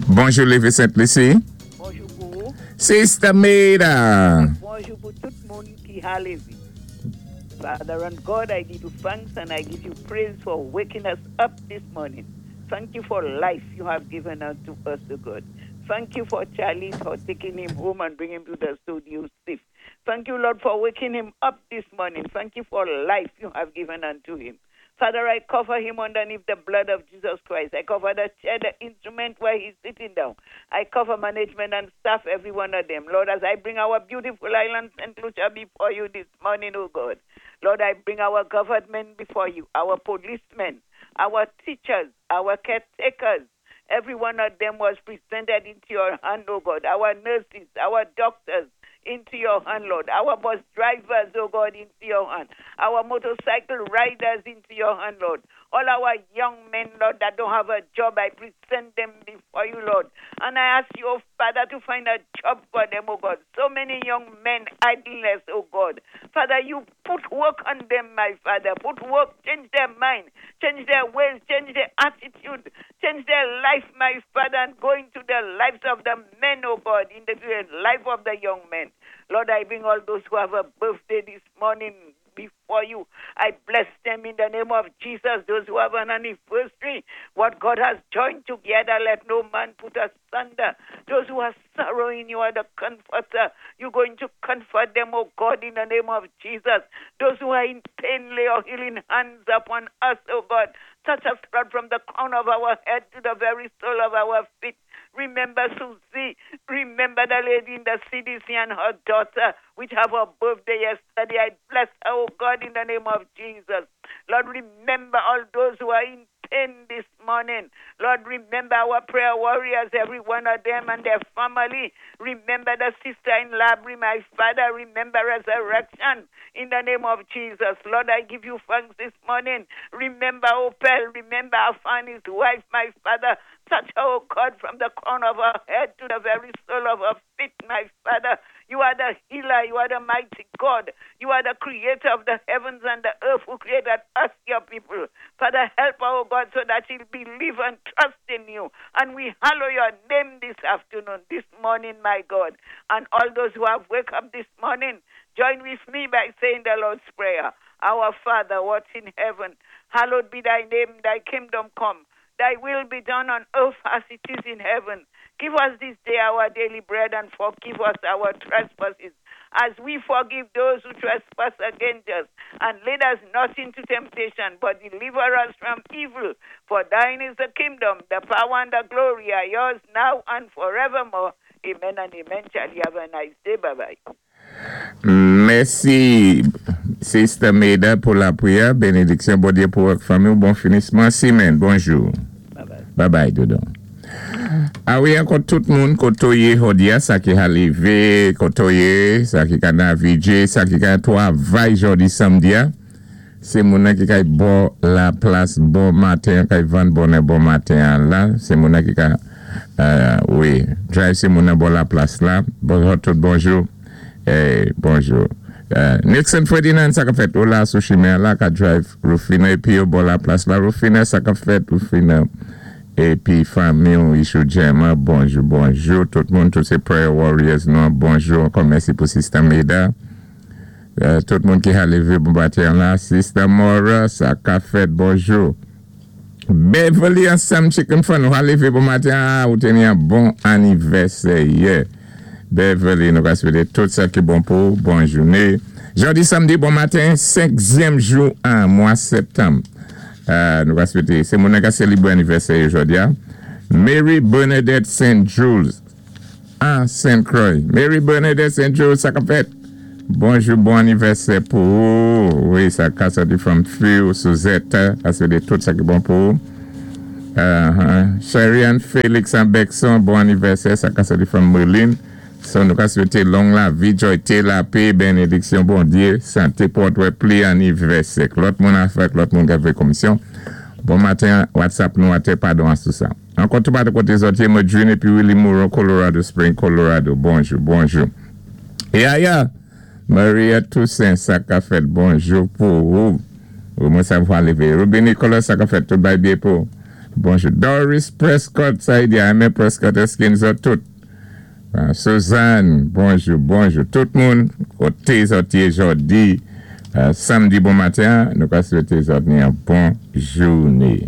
Bonjou Lévi Sent Lisi. Bonjou pou ou. Sister Maida. Bonjou pou tout moun ki ha lévé. Father and God, I give you thanks and I give you praise for waking us up this morning. Thank you for life you have given unto us, O God. Thank you for Charlie, for taking him home and bringing him to the studio safe. Thank you, Lord, for waking him up this morning. Thank you for life you have given unto him. Father, I cover him underneath the blood of Jesus Christ. I cover the chair, the instrument where he's sitting down. I cover management and staff, every one of them. Lord, as I bring our beautiful island, St. Lucia, before you this morning, oh God. Lord, I bring our government before you, our policemen, our teachers, our caretakers. Every one of them was presented into your hand, oh God. Our nurses, our doctors, into your hand, Lord. Our bus drivers, oh God, into your hand. Our motorcycle riders into your hand, Lord. All our young men, Lord, that don't have a job, I present them before you, Lord. And I ask you, oh Father, to find a job for them, oh God. So many young men idleness, oh God. Father, you put work on them, my Father. Put work, change their mind, change their ways, change their attitude, change their life, my Father, and go into the lives of the men, oh God, in the life of the young men. Lord, I bring all those who have a birthday this morning before you. I bless them in the name of Jesus. Those who have an anniversary, what God has joined together, let no man put asunder. Those who are sorrowing, you are the comforter. You're going to comfort them, oh God, in the name of Jesus. Those who are in pain, lay your healing hands upon us, oh God. Touch us, Lord, from the crown of our head to the very sole of our feet. Remember Susie. Remember the lady in the CDC and her daughter, which have her birthday yesterday. I bless her, oh God, in the name of Jesus. Lord, remember all those who are in pain this morning. Lord, remember our prayer warriors, every one of them and their family. Remember the sister in Labrie, my father. Remember resurrection in the name of Jesus. Lord, I give you thanks this morning. Remember Opel. Remember Afani's wife, my father. Touch her, oh God, from the crown of her head to the very sole of her feet, my Father. You are the healer. You are the mighty God. You are the creator of the heavens and the earth who created us, your people. Father, help her, oh God, so that she'll believe and trust in you. And we hallow your name this afternoon, this morning, my God. And all those who have woke up this morning, join with me by saying the Lord's Prayer. Our Father, who art in heaven, hallowed be thy name, thy kingdom come. Thy will be done on earth as it is in heaven. Give us this day our daily bread and forgive us our trespasses as we forgive those who trespass against us. And lead us not into temptation, but deliver us from evil. For thine is the kingdom, the power, and the glory are yours now and forevermore. Amen and amen. Shall you have a nice day? Bye bye. Mèsi Sister Meda pou lapriyè, benediksyon Bondye pou ou ak fanmi w, bon finisman semèn, bonjou. Bye bye dodo. A wi ankò tout moun kote w ye jodi a sa ki ha leve kote w ye sa ki ka navige sa ki ka twavay jodi samdi a se moun nan ki kay bò la plas bon maten an kay vann bonè bon maten an la se moun nan ki ka wi drive se moun nan bò la plas la bonjou tout bonjou bonjou Nixon Ferdinand sa kap fèt ou la sou chimen an la ka drive Rufina epi yo bò la plas la Rufina sa kap fèt Rufina epi fanmi w Ishou Gemma bonjou bonjou tout moun tout se prayer warriors nou an bonjou ankò mèsi pou sista Meda. Tout moun ki ha leve bon maten an la sista Mora sa ka fèt bonjou Beverly ansanm chicken fun ou ha leve bon maten an ou te ni an bon anivèsè yè Beverly nou ka swete tout sa ki bon pou ou bon joune jodi samdi bon maten 5 zyèm jou an mwa septanm nou ka swete se moun nan ka selebre anivèsè yo jodi a Mary Bernadette Saint Jules Ah Saint Croix Mary Bernadette Saint Jules sa kap fèt Bonjou bon anivèsè pou ou wi sa ka sòti from few Suzette a swete tout sa ki bon pou ou Cherianne Felix an Bexon bon anivèsè sa ka sòti from Merline so nou ka swete long lavi joyte lapé benediksyon Bondye sante pou w wè pli anivèsè k lòt moun afè k lòt moun kap fè komisyon bon maten WhatsApp nou atè padon a sou sa. Ankò tou pati kote zòt ye Medjine epi Willie Moreau Colorado Spring Colorado bonjou bonjou Yaya Maria Toussaint sa ka fèt bonjou pou ou ou mwen sa vwa leve Ruby Nicolas sa ka fèt tout bay bye pou. Bonjou Doris Prescott, sa i di Aimé Prescott, èské nou tout? Suzanne, bonjou, bonjou tout moun. Koté zòt yé jòdi, samdi bon maten, nou ka swété zòt ni yon bon jouné.